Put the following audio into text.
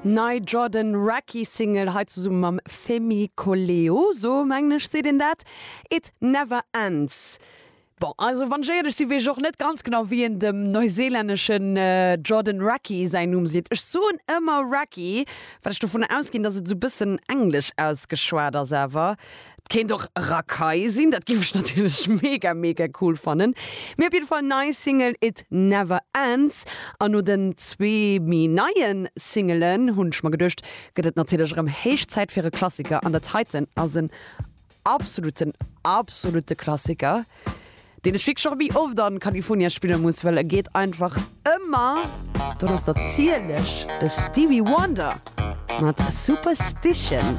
Nei Jordan Rakei Single, hei zesumme mam Femi Koleoso, mengen ech seet een dat, It Never Ends. Bon, also wann ech éierlech sinn, weess ech och net ganz genau wéi een dem neuseelänneschen Jordan Rakei säin Numm seet. Ech soen ëmmer Rakei, well ech dovun ausginn, dass et esou bëssen englesch ausgeschwat ass, awer et kéint och Rakai sinn, dat géif ech natierlech mega mega cool fannen. Mee op jidde Fall nei Single It Never Ends an no den zwee méi neie Singelen hunn ech mer geduecht, gëtt et natierlech erëm héich Zäit fir e Klassiker an dat heiten ass en absoluten absolute Klassiker, deen ech wierklech och méi oft an California spille muss, well e geet einfach ëmmer. Dat ass natierlech de Stevie Wonder mat Superstition.